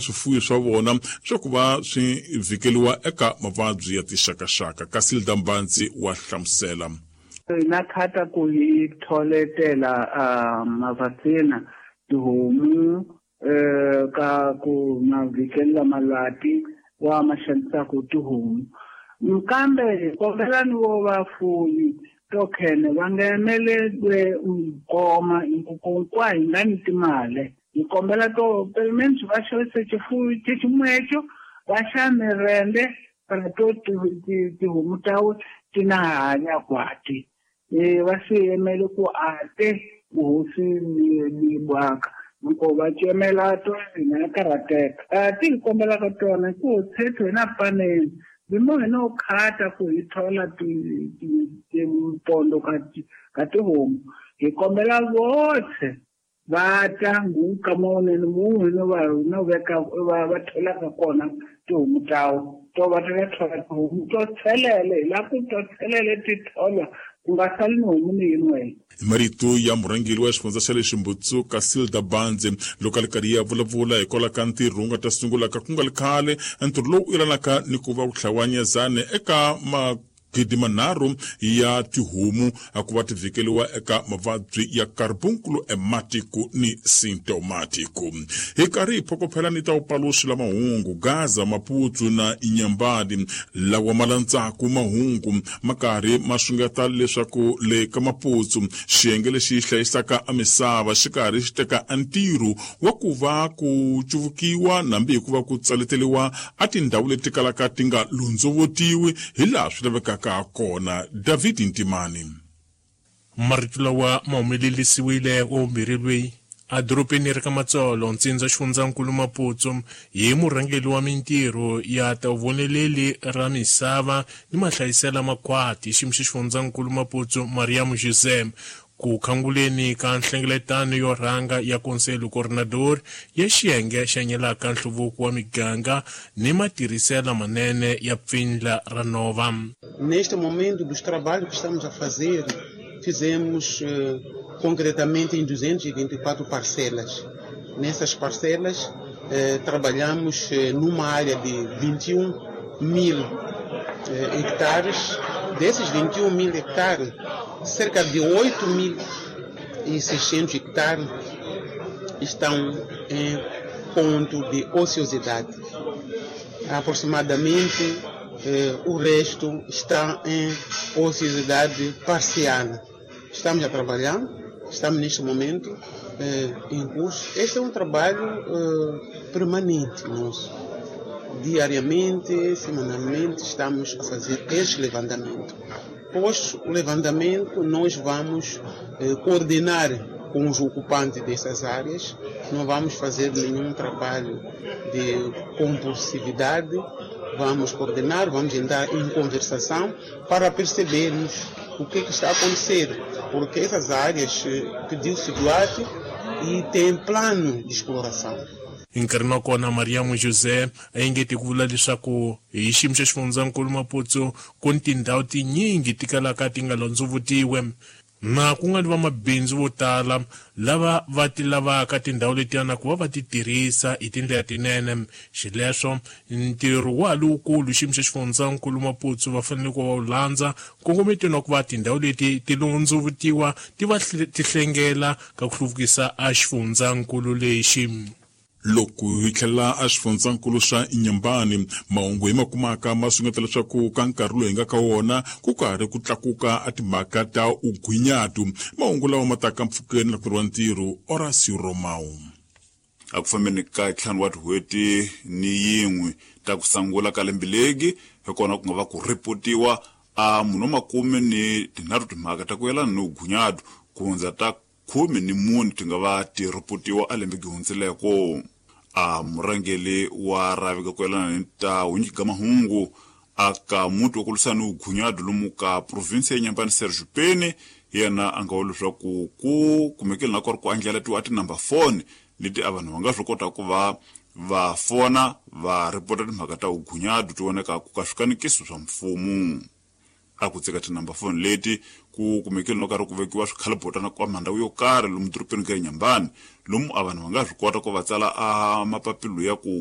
swifuwo swa vona swa ku va swi vhikeliwa eka mavabyi ya tixakaxaka. Casilda Mbandzi wa hlamusela. Hi na khata ku hi tholetela mavaccina tihomu ka ku ma vhikelela malwati wa ma xanisaka tihomu, kambe hi kombela ni vo vafuyi to khene va nga emelelwe nkoma hinkwa hi nga ni timali. Hi kombela to pelemende va xavise xifuwo xeximwecho va xa mirende para to tihomu tawe ti na hanya kwati va swi yemele ku ate vuhosi ni bwaka loko va cemela to hina karhateka. Ti hi kombelaka tona ku tshetho hi na paneni bimo hi no khata ku hi thola timpondo ka tihomu, hi kombela votlhe va ta nguka mawunene munhu no va no veka va tholaka kona tihomu tawo to va ta thola tihomu to tshelele hi la ku to tshelele ti tholwa ku nga sali ni homu ni yin'we. Hi marito ya murhangeri wa xifundza xa le Ximbutsu Casilda Bandze loko a ri karhi ya vulavula hikwalaho ka ntirho wu nga ta sungulaka ku nga ri khale, ntirho lowu yelanaka ni ku va ku hlawanyezane eka 3,000 ya tihomu ku va ti vhikeliwa eka mavabyi ya carbunkulu ematiko ni sintomatiko. Hi karhi hi phokophela ni ta upaluxi la mahungu Gaza, Maputsu na Inyambani lawa ma landzaku mahungu ma karhi ma xungeta leswaku le ka Maputsu xiyenge lexi hlayisaka a misava xi karhi xi teka a ntirho wa ku va ku cuvukiwa nambi hi ku va ku tsaleteliwa a tindhawu leti kalaka ti nga londzovotiwi hi laha swi lavekaka kona. David Ntimani. Marito lawa ma humelelisiwile wa vumbirhi lweyi a dorobeni ra ka Matsolo, ntsindza xifundzankulu Maputsu, hi murhangeri wa mintirho ya ta voneleli ra misava ni mahlayisela makhwati xiyimo xa xifundzankulu Maputsu Mariam José ku khanguleni ka nhlengeletano yo rhanga ya Conselho Coordenador ya xiyenge xa nyelaka nhluvuko wa miganga ni matirhiselo manene ya pfindla ra nova. Neste momento dos trabalhos que estamos a fazer, fizemos concretamente em 224 parcelas. Nessas parcelas, trabalhamos numa área de 21 mil hectares. Desses 21 mil hectares, cerca de 8.600 hectares estão em ponto de ociosidade. Aproximadamente o resto está em ociosidade parcial. Estamos a trabalhar, estamos neste momento em curso. Este é um trabalho permanente nosso. Diariamente, semanalmente, estamos a fazer este levantamento. Após o levantamento, nós vamos coordenar com os ocupantes dessas áreas. Não vamos fazer nenhum trabalho de compulsividade. Vamos coordenar, vamos entrar em conversação para percebermos o que está a acontecer, porque essas áreas pediu-se doate e tem plano de exploração. Hi nkarhi wa kona Mariam José a engete ku vula leswaku hi xiyimo xa xifundzankulu Maputsu ku ni tindhawu tinyingi ti kalaka ti nga londzovutiwe na ku nga ni vamabindzu vo tala lava va ti lavaka tindhawu letiyana ku va va ti tirhisa hi tindlela tinene. Xileswo ntirho wa ha lowukulu xiyimo xa xifundzankulu Maputsu va fanele ku va wu landza nkongometweni wa ku va tindhawu leti ti londzovutiwa ti va ti hlengela ka ku hluvukisa a xifundzankulu lexi. Loko hi tlhela a xifundzankulu xa Inyambani, mahungu hi ma kumaka ma sungeta leswaku ka nkarhi lowu hi nga ka wona ku karhi ku tlakuka a timhaka ta ugwinyatu. Mahungu lawa ma taka mpfhukeni na ku wa ntirho Horacio Romao. A ku fambeni ka 5 wa tin'hweti ni yin'we ta ku sungula ka lembe legi hi kona ku nga va ku ripotiwa a munhu wa 13 timhaka ta ku yelana ni ugunyatu ku hundza ta 14 ti nga va ti ripotiwa a lembe gihundzileko. A murhangeri wa rhavi ka ku yelana ni ta hunyika mahungu aka muti wa ku lwisana ni ugunyatu lomu ka province ya Nyambani Sergio Peni yena a nga vula leswaku ku kumekile na ku ri ku andlalatiwa a tinumber phone leti a vanhu va nga swi kota ku va va fona va ripota timhaka ta ugunyatu ti vonekaka ka swikanekiso swa mfumo. A ku tseka tinumber phone leti ku kumekile no karhi ku vekiwa swikhalibotana kwa mandhawu yo karhi lomu dorobeni ka Nyambani lomu a vanhu va nga swi kota ku va tsala a mapapilo ya ku